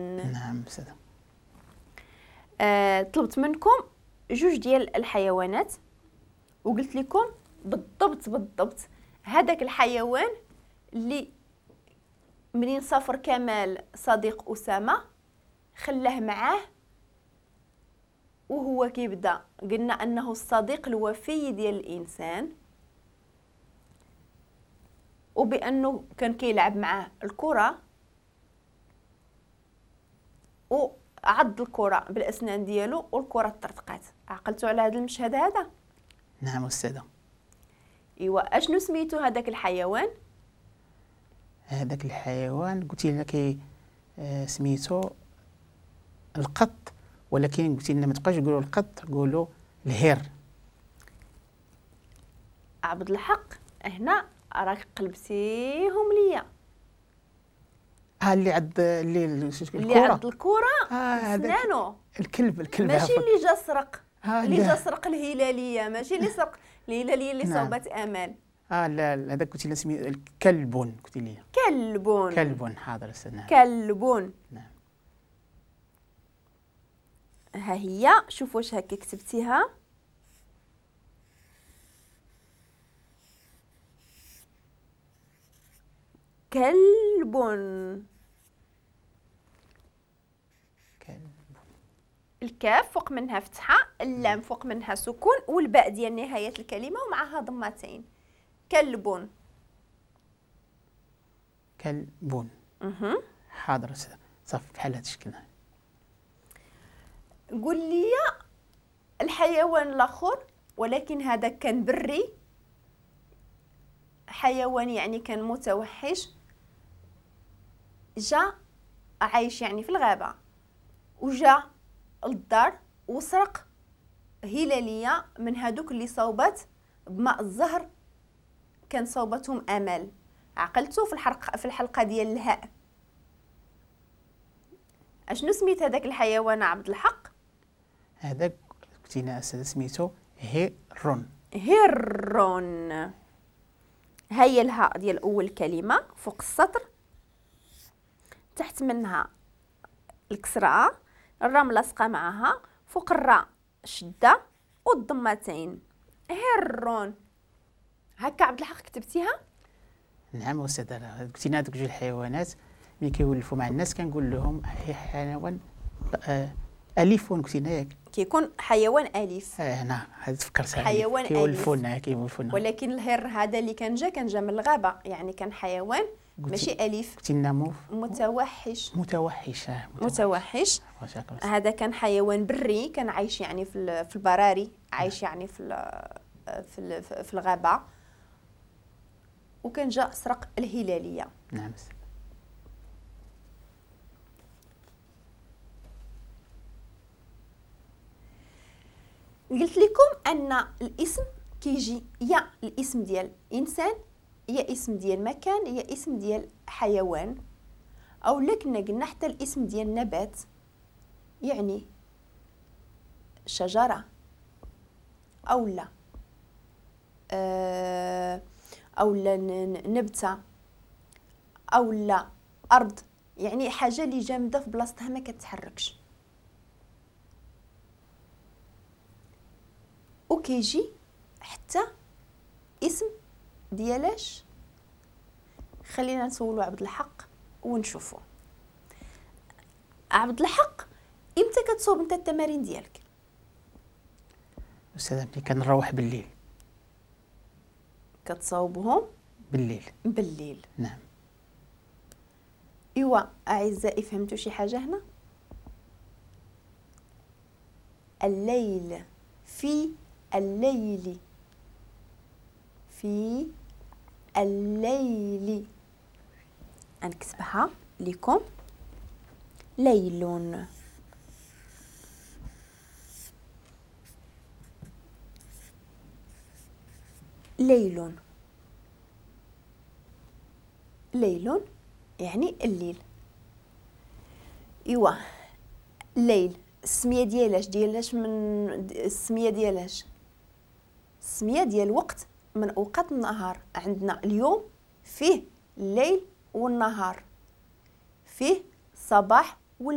نعم أستاذة. طلبت منكم جوج ديال الحيوانات وقلت لكم بالضبط بالضبط هذاك الحيوان اللي منين سافر كمال صديق أسامة خلاه معاه وهو كيبدا، قلنا أنه الصديق الوفي ديال الإنسان، وبأنه كان كيلعب معاه الكرة وعض الكرة بالأسنان ديالو والكرة طرطقات. عقلتوا على هذا المشهد هذا؟ نعم أستاذة. إيوا أشنو سميتو هذاك الحيوان؟ هذاك الحيوان قلتي لنا كي سميتو القط، ولكن قلتي لنا ما تبقاش تقولوا القط، قولوا الهر. عبد الحق هنا راك قلبتيهم ليا. اللي عض اللي عض الكرة سنانو. الكلب ماشي اللي جا سرق، اللي جا سرق الهلالية، ماشي اللي سرق الهلالية اللي صوبت امال. لا هذاك قلتي لنا سمي كلب، قلتي لي كلب. كلب، حاضر أستاذ. نعم كلب. نعم ها هي، شوف واش هكا كتبتيها. كلب. كلب. الكاف فوق منها فتحة، اللام فوق منها سكون، والباء ديال نهاية الكلمة ومعها ضمتين. كلب. كلب. حاضر أستاذ، صافي بحال هذا الشكل. قول لي الحيوان الآخر، ولكن هذا كان بري، حيوان يعني كان متوحش، جا عايش يعني في الغابة وجا للدار وسرق هلالية من هادوك اللي صوبت بماء الزهر، كان صوبتهم أمل. عقلتو في الحلقة ديال الهاء. اشنو سميت هذاك الحيوان عبد الحق؟ هذاك قلتينا أستاذ سميتو هيرون. هيرون. هي الهاء ديال أول كلمة فوق السطر، تحت منها الكسرة، الراء ملاصقة معها، فوق الراء شدة والضمتين. هيرون. هكا عبد الحق كتبتيها؟ نعم أستاذ. قلتينا هذوك جوج الحيوانات ملي كيولفوا مع الناس كنقول لهم حيوان أليف، قلتينا ياك؟ كيكون حيوان أليف. نعم هذا تفكرتها. حيوان أليف كيولفونا كيولفونا. ولكن الهر هذا اللي كان جا من الغابة، يعني كان حيوان ماشي أليف. قلتي لنا متوحش. متوحش. متوحش. هذا كان حيوان بري، كان عايش يعني في البراري، عايش يعني في الغابة، وكان جا سرق الهلالية. نعم. قلت لكم أن الاسم كيجي يا الاسم ديال إنسان، يا اسم ديال مكان، يا اسم ديال حيوان، أو لكن قلنا حتى الاسم ديال نبات، يعني شجرة أو لا أو لا نبتة أو لا أرض، يعني حاجة اللي جامدة في بلاصتها ما كتحركش. وكيجي حتى اسم ديالاش. خلينا نسولو عبد الحق ونشوفو. عبد الحق، امتى كتصوب انت التمارين ديالك؟ استاذ ملي كنروح بالليل. كتصاوبهم بالليل؟ بالليل. نعم. ايوا اعزائي، فهمتوا شي حاجة هنا؟ الليل، في الليل، في الليل، نكتبها لكم، ليل. ليل، ليل يعني الليل. ايوا الليل السمية ديالاش؟ ديالاش من السمية ديالاش؟ السمية ديال وقت من اوقات النهار. عندنا اليوم فيه الليل والنهار، فيه صباح